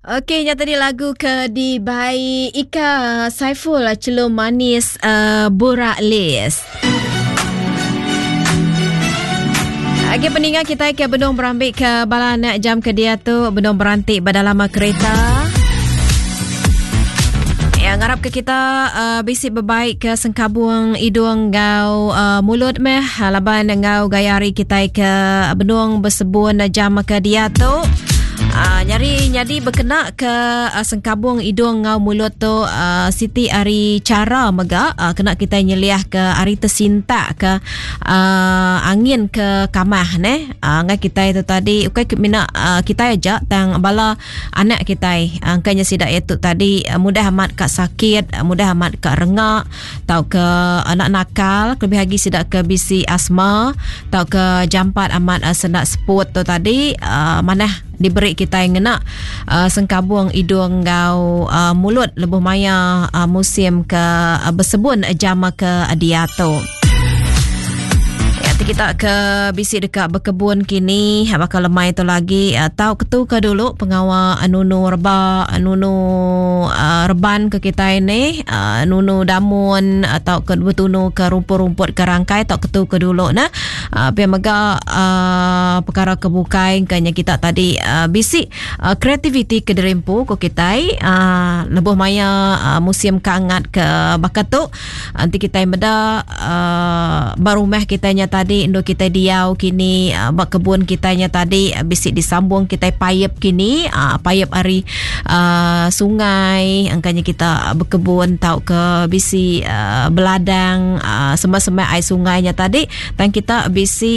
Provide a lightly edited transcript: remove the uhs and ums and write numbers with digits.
Okey nya tadi lagu ke dibai Ika Saiful Chelum Manis uh, Burak Lis. Agi peninga kita ke benung berambik ke bala anak jam ke dia tu benung berantik ba dalam kereta. Ya, ngarap ke kita uh, bisi bebaik ke sengkabung idung ngau uh, mulut meh laban ngau gaya hari kita ke benung besebun jam ke dia tu. Uh, nyari nyadi bekena ke uh, sengkabung idung ngau mulut tu uh, siti ari cara mega uh, kena kita nyeliah ke ari tersintak ke uh, angin ke kamah neh uh, ngai kita itu tadi ukai mina uh, kita aja tang bala anak kita uh, kanya sida itu tadi uh, mudah amat ka sakit uh, mudah amat ka rengak tau ke anak nakal kelebih lagi sida ke bisi asma tau ke jampat amat uh, senak seput tu tadi uh, manah diberi kitai ngena uh, sengkabung idung enggau uh, mulut lebuh maya uh, musim ke uh, besebun jam ke diatu. Ya, kita ke bisi deka bekebun kini baka lemai tu lagi tau ketu ke dulu pengawa nunu reba nunu uh, reban ke kita ini uh, nunu damun atau ke betunu ke rumput-rumput ke rangkai tau ketu ke dulu nah Uh, pia mega uh, perkara ke bukai kanya kita tadi uh, bisi uh, kreativiti ke dirimpu ko kitai uh, lebuh maya uh, musim kangat ke baka tu enti kitai meda uh, ba rumah kitai nya tadi endur kitai diau kini uh, ba kebun kitai nya tadi uh, bisi disambung kitai paip kini uh, paip ari uh, sungai angkanya kita bekebun tauka bisi uh, beladang uh, semak-semak ai sungai nya tadi Tang kita bisi.